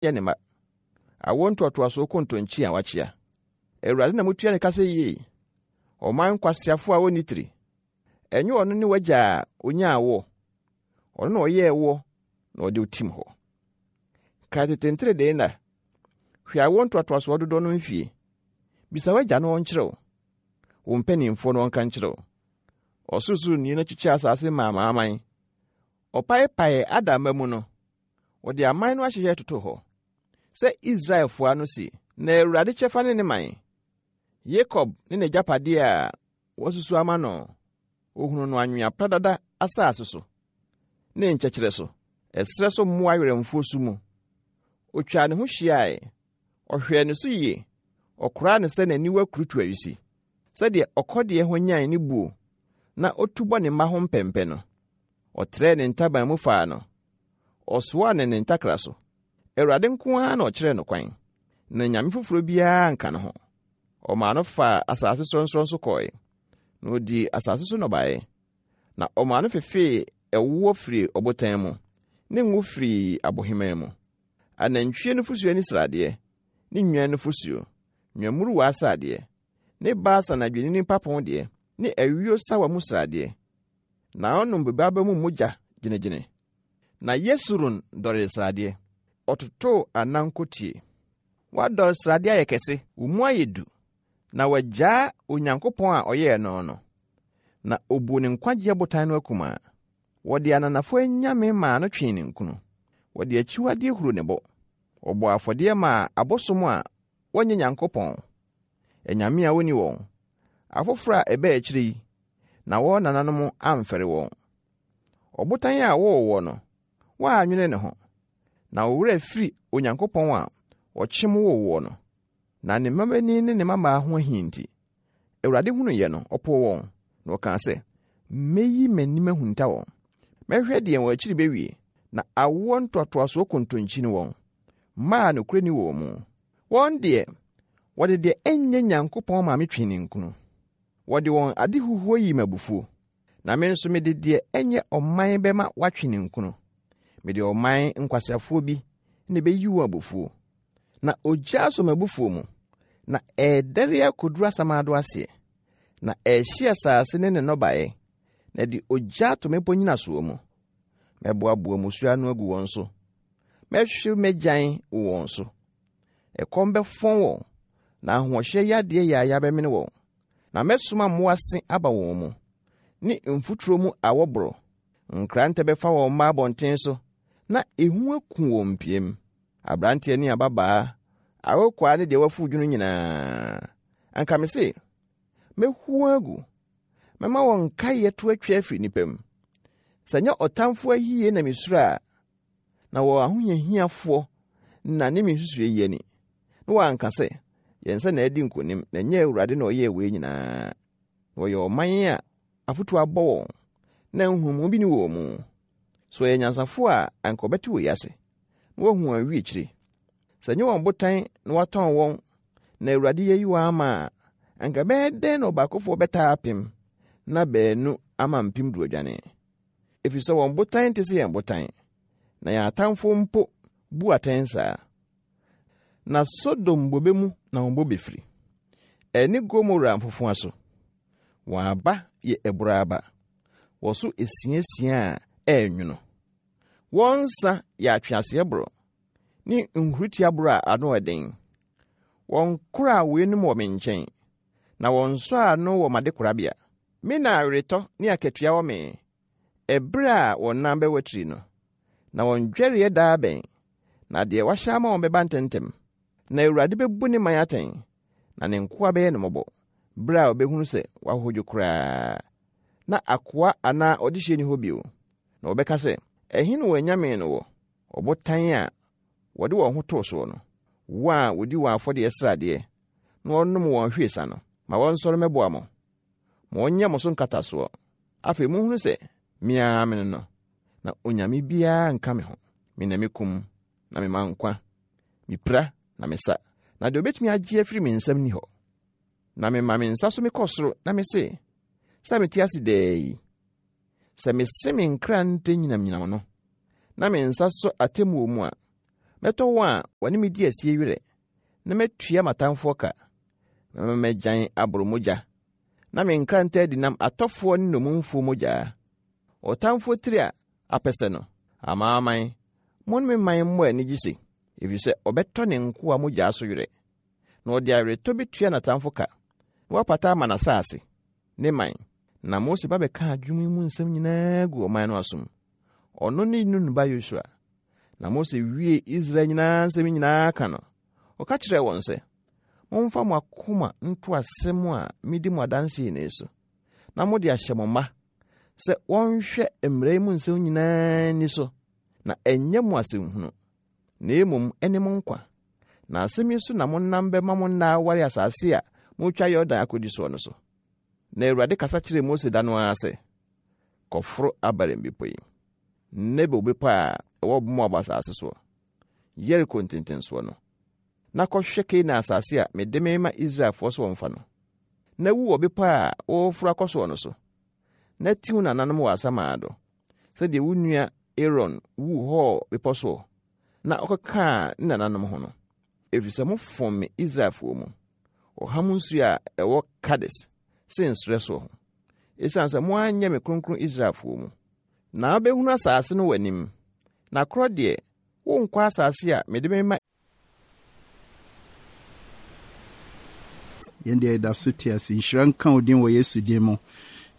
yɛ ne mma, awoɔ ntoatoasoɔ kontonkyi a wakyea. Awurade na mutua ne ka sɛ yie, ɔman nkwaseafo a wɔnni tiri. Ɛnyɛ ɔno ne w'agya a onyaa woɔ? Ɔno na ɔyɛɛ woɔ na ɔde wo tim hɔ. Kae tete nteredee nna. Hwɛ awoɔ ntoatoasoɔ dodoɔ no mfie. Bisa w'agya na ɔnkyerɛ wo, wo mpanimfoɔ na wɔnka nkyerɛ wo. Ɔsorosoroni no kyekyɛɛ asase maa amanaman. Ɔpaepaee Adam mma mu no, ɔde aman no ahyehyɛ totoo hɔ sɛ Israelfoɔ ano si. Na Awurade kyɛfa ne ne man, Yakob ne n'agyapadeɛ a wɔasusu ama no. Ɔhunuu no anwea pradada asase so ne nkyɛkyerɛ so, ɛserɛ so mmoa werɛmfoɔ su mu. Ɔtwaa ne ho hyiae, ɔhwɛɛ ne so yie, ɔkoraa no sɛ n'aniwa kurutu awisi, sɛdeɛ ɔkɔdeɛ hwanyan ne buo na ɔtu bɔ ne mma ho mpɛmpɛ no. Ɔtrɛɛ ne ntaban mu faa no, ɔsoaa no ne ntakra so. Awurade nko ara na ɔkyerɛɛ no kwan, na nyame foforɔ biara anka ne ho. Ɔmaa no faa asase sorɔnsorɔn so kɔe, na ɔdii asase so nnɔbaeɛ. Na ɔmaa no fefee ɛwoɔ firii ɔbotan mu, ne ngo firii abohemaa mu. Anantwie nufosuo ani sradeɛ, ne nnwan nufosuo, nnwammuruwa sradeɛ, ne Basan adwennini mpapo deɛ, ne ayuo sawa mu sradeɛ. Na ɔnom bobe aba mu mogya gyenegyene. Na Yesurun dɔree sradeɛ, ɔtotoo anankotie. Woadɔre sradeɛ ayɛ kɛse, wo mu ayɛ du, na wagyaa Onyankopɔn a ɔyɛɛ no no, na obuu ne nkwagyeɛ botan no akumaa. Wɔde ananafoɔ anyame maa no twee ninkunu, wɔde akyiwadeɛ huruu ne bo. Ɔbɔɔ afɔdeɛ maa abosom a wɔnyɛ Nyankopɔn, anyame a wonni wɔn, afoforo a ɛbaa akyiri yi, na wɔn nananom amfɛre wɔn. Ɔbotan a wɔwoo woɔ no, woannwene ne ho, na wo werɛ afiri Onyankopɔn a ɔkyem woo woɔ no. Na ne mmabanin ne ne mmammaa ho ahi nti, Awurade hunuiɛ no, ɔpoo wɔn, na ɔkaa sɛ, Mɛyi m'anim ahunta wɔn. Mɛhwɛ deɛ wɔn akyiri bɛwie, na awoɔ ntoatoasoɔ kontonkyi ne wɔn, mma a nokorɛ nni wɔn mu. Wɔn deɛ, wɔde deɛ ɛnyɛ Nyankopɔn maa me twee ninkunu. Wɔde wɔn adehuhuo yii me abufuo, na me nso mede deɛ ɛnyɛ ɔman bɛma wɔatwe ninkunu. Mede ɔman nkwaseafoɔ bi na ɛbɛyi wɔn abufuo. Na ogya asɔ m'abufuo mu, na ɛredɛre akɔduru asamando aseɛ, na ɛrehye asase ne ne nnɔbaeɛ, na ɛde ogya ato mmepɔ nnyinasoɔ mu. Mɛboaboa mmusuo ano agu wɔn so, mɛhwe m'agyan wɔ wɔn so. Ɛkɔm bɛfɔn wɔn, na ahoɔhyɛ yadeɛ yaaya bɛmene wɔn. Na mɛsoma mmoa se aba wɔn mu, ne mfuturo mu awɔ borɔ. Nkrantɛ bɛfa wɔn mma abɔnten so, na ehu aku wɔn mpiam. Aberanteɛ ne ababaa, akokoaa ne deɛ wafuw dwono nyinaa. Anka mese, mɛhu wɔn agu, mɛma wɔn nkaeɛ to atwa afiri nnipa mu. Sɛ ɛnyɛ ɔtamfo ayie na mesuro a, na wɔn ahohiahiafoɔ na ne me nsusuiɛ yi ani, na wɔanka sɛ, Yɛn nsa na adi nkonim, na ɛnyɛ Awurade na ɔyɛɛ wei nyinaa. Na wɔyɛ ɔman a afotu abɔ wɔn, na nhunumu bi ne wɔn mu. So wɔyɛ anyansafo a anka wɔbɛte wei ase, na wɔahu wɔn awiekyire? Sɛ ɛnyɛ wɔn botan na watɔn wɔn, na Awurade ayi wɔn ama a, anka ɛbɛyɛ dɛn na ɔbaakofoɔ bɛtaa apem, na baanu ama mpemdu adwane? Ɛfiri sɛ wɔn botan nte sɛ yɛn botan, na yɛn atamfoɔ mpo bu atɛn saa. Na Sodom bobe mu na wɔn bobe firi, ɛne Gomora mfofowa so. Wɔn aba yɛ abura aba, wɔso esiasia a ɛyɛ nwono. Wɔn nsa yɛ atweaseɛ borɔ ne nhuritia borɔ a ano yɛ den. Wɔnkoraa weinom wɔ me nkyɛn, na wɔnsɔɔ ano wɔ m'adekorabea. Me na aweretɔ ne akatua wɔ me, ɛberɛ a wɔn nan bɛwatiri no, na wɔn dwɛreɛ da abɛn, na deɛ wahyɛ ama wɔn bɛba ntɛmntɛm. Na Awurade bɛbu ne man atɛn, na ne nkoa bɛyɛ no mmɔbɔ, berɛ a ɔbɛhunu sɛ wɔahodwo koraa, na akoa anaa ɔdehyeɛ nni hɔ bio. Na wɔbɛka sɛ, Ɛhe na wɔn anyame no wɔ, ɔbotan a wɔde wɔn ho too soɔ no, wɔn a wɔdi wɔn afɔdeɛ sradeɛ na wɔnom wɔn ahwiesa no? Ma wɔnsɔre mmɛboa mo. Ma wɔnyɛ mo so nkatasoɔ. Afei monhunu sɛ me ara mene no, na onyame biara nka me ho. Me na mekum, na mema nkwa. Mipira, na mesa, na deɛ obetumi agye afiri me nsam nni hɔ. Na mema me nsa so mekɔ soro na mese, sɛ mete ase daa yi, sɛ mese me nkrante nyinamnyinam no, na me nsa sɔ atemmuo mu a, Mɛtɔ wɔn a wɔne me di asie werɛ, na matua m'atamfoɔ ka. Mɛma m'agyan aboro mogya, na me nkrantɛ adi nam atɔfoɔ ne nnommumfoɔ mogyaa. Ɔtamfoɔ tiri a apɛsɛ no, amanaman, mo ne me man mmɔ anigye se, efisɛ ɔbɛtɔ ne nkoa mogyaa so werɛ, na ɔde aweretɔ betua n'atamfo ka, na wapata ama n'asase, ne man. Na Mose ba bɛkaa dwom yi mu nsɛm nyinaa guu ɔman no asom. Ɔno ne Nun ba Yosua. Na Mose wiee Israel nyinaa nsɛm nyinaa ka no, ɔka kyerɛɛ wɔn sɛ, Momfa mo akoma nto asɛm a midi mo adanse yi so, na mode ahyɛ mo mma sɛ wɔnhwɛ mmara yi mu nsɛm nyinaa nni so, na ɛnyɛ mo asɛnhunu, na mmom ɛne mo nkwa. Na asɛm yi so na monam bɛma mo nna aware asase a moretwa Yordan akodi soɔ no so. Na Awurade kasa kyerɛɛ Mose da no ara sɛ, Kɔforo Abarim bepɔ yi, Nebo bepɔ a ɛwɔ Moab asase soɔ, Yeriko ntentensoɔ no, na kɔhwɛ Kanaan asase a mede merema Israelfoɔ sɛ wɔmfa no. Na wu wɔ bepɔ a woreforo akɔ soɔ no so, na ti wo nananom wɔ asamando, sɛdeɛ wo nua Aaron wuu Hor bepɔ soɔ na ɔkɔkaa ne nananom ho no, ɛfiri sɛ mofom me Israelfoɔ mu, ɔham nsuo a ɛwɔ Kades, Sin serɛ soɔ ho, ɛsiane sɛ moanyɛ me kronkron Israelfoɔ mu. Na wobɛhunu asase no w'anim, na korɔ deɛ, worenkɔ asase a mede merema. Yɛn deɛ yɛda so te ase. Nhyira nka wo din wɔ Yesu din mu.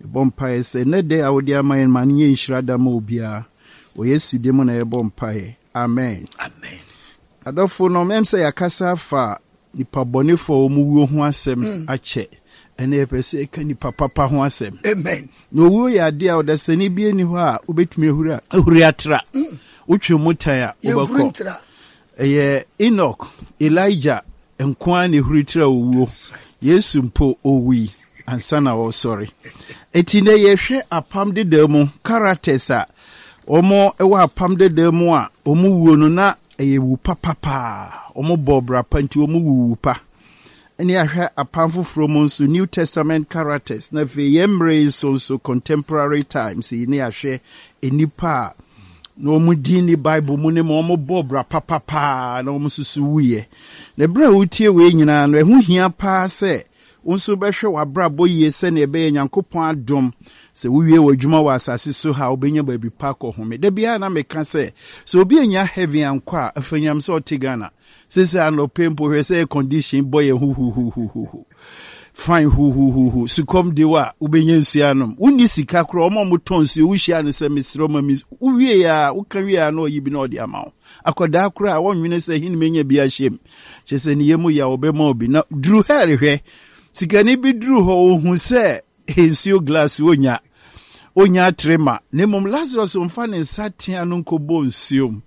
Yɛbɔ mpaeɛ sɛ nnɛ da a wode ama yɛn ma no nyɛ nhyira da ma obiara. Wɔ Yesu din mu na yɛbɔ mpaeɛ. Amen. Amen. Adɔfo no, mɛm sɛ yɛakasa afa nipa bɔnefo a wɔn wuo ho asɛm mm. akyɛ. Ɛnna yɛpɛ sɛ yɛka nipa papa ho asɛm. Amen. Na owuo yɛ adeɛ a ɔdasani bi ani hɔ a wobɛtumi ahuri ahuri atra. Mm. Wotwe mu tan a wobɛkɔ. Ɛyɛ Enoch, Elijah nko ara na ehuri tra owuo. Yesu mpo owui ansa na ɔresɔre. Eti nɛ yɛhwɛ apam dedaa mu characters a wɔn wɔ apam dedaa mu a wɔn wuo no na ɛyɛ wu papa paa. Wɔn bɔɔ bra pa nti wɔn wu wu pa. Ɛne ahwɛ apam foforɔ mu nso New Testament characters na afei yɛn mmerɛ yi nso nso contemporary times yi ne ahwɛ nnipa a na wɔn din ne Bible mu ne ma wɔn bɔ bra papa paa na wɔn nso so wuiɛ. Na berɛ a wotie wei nyinaa no ɛho hia paa sɛ wo nso bɛhwɛ w'abrabɔ yie sɛnea ɛbɛyɛ Nyankopɔn adom sɛ wowie w'adwuma wɔ asase so ha a wobɛnya baabi pa akɔhome. Da biara na meka sɛ sɛ obi anya heaven ankɔ a afanyam sɛ ɔte Ghana. Sese anɔpɛ mpo hwɛ sɛ air condition bɔ yɛn huhuhuhuhu. Fine huhuhuhu. Sukɔm de wo a wobɛnya nsuo anom. Wonni sika koraa wɔn a wɔtɔn nsuo wohyia no sɛ mesrɛ ma me wowie a woka wie a na ɔyi bi na ɔde ama wo. Akwadaa koraa wɔnwene sɛ hin menya bi ahyɛ mu. Kyerɛ sɛ ne yam yɛ a wɔbɛma obi. Na duru hɛl hwɛ. Sikani bi duru hɔ ohu sɛ nsuo glass onya onya atere ma na mmom Lazarus mfa ne nsa tea no nkɔbɔ nsuo mu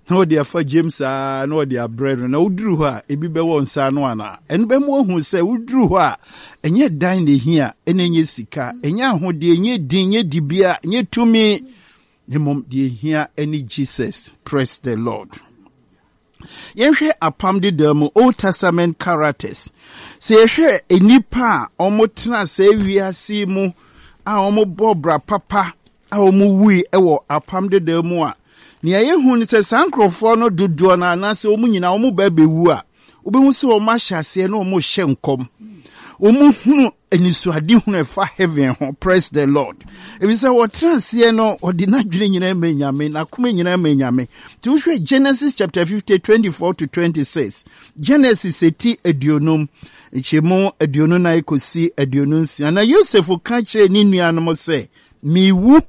na ɔde afa James aa na ɔde abrɛ no na woduru hɔ a ebi bɛwɔ nsa ano anaa ɛno bɛma wahu sɛ woduru hɔ a ɛnyɛ dan na ehia ɛna ɛnyɛ sika ɛnyɛ ahodeɛ ɛnyɛ din ɛnyɛ dibea ɛnyɛ tumi na mmom deɛ ehia ɛne Jesus. Praise the Lord. Yɛnhwɛ Apam Dedaw mu, Old Testament characters. Sɛ yɛhwɛ nnipa a wɔtena saa wiase yi mu a wɔbɔ bra papa a wɔwui wɔ Apam Dedaw mu a, nea yɛhu ne sɛ saa nkurɔfoɔ no dodoɔ no anaasɛ wɔn nyinaa wɔn ba bɛwu a, wobɛhu sɛ wɔn ahyɛ aseɛ na wɔrehyɛ nkɔm. Wɔhunu anisoadehunu ɛfa heaven ho. Praise the Lord. Efisɛ wɔtena aseɛ no, ɔde n'adwene nyinaa ma Nyame, n'akoma nyinaa ma Nyame. Nti wohwɛ Genesis chapter 50, 24 to 26. Genesis eti aduonum, nkyɛmu 24 kɔsi 26. Na Yosef ka kyerɛɛ ne nuanom sɛ, Mewu.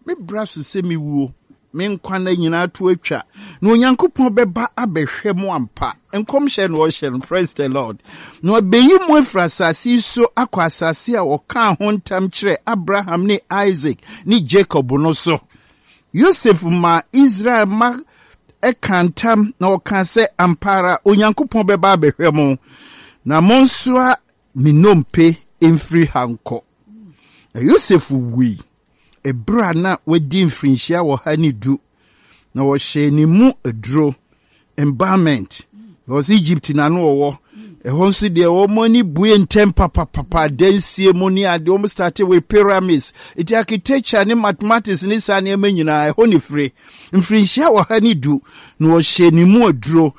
Me bra so sɛ mewuo, me nkwa nna nyinaa to atwa, na Onyankopɔn bɛba abɛhwɛ mo ampa. Nkɔmhyɛ na ɔhyɛ no, praise the Lord. Na ɔbɛyi mo afiri asase yi so akɔ asase a ɔkaa ho ntam kyerɛɛ Abraham ne Isaac ne Jacob no so. Yosef maa Israel mma ɛkaa ntam na ɔkaa sɛ, ampa ara Onyankopɔn bɛba abɛhwɛ mo, na monsoa me nnompe mfiri ha nkɔ. Na Yosef wui. Bere a na wadi mfirinhyia 110, na wɔhyɛɛ ne mu aduro, embalmment, because Egypt na no ɔwɔ. Ɛhɔ nso deɛ wɔn ani bue ntɛm papapapa, dansie mu ne adeɛ, wɔn starte with pyramids. Nti architecture ne mathematics ne saa nneɛma nyinaa ɛhɔ ne fire. Mfirinhyia 110 na wɔhyɛ ne mu aduro.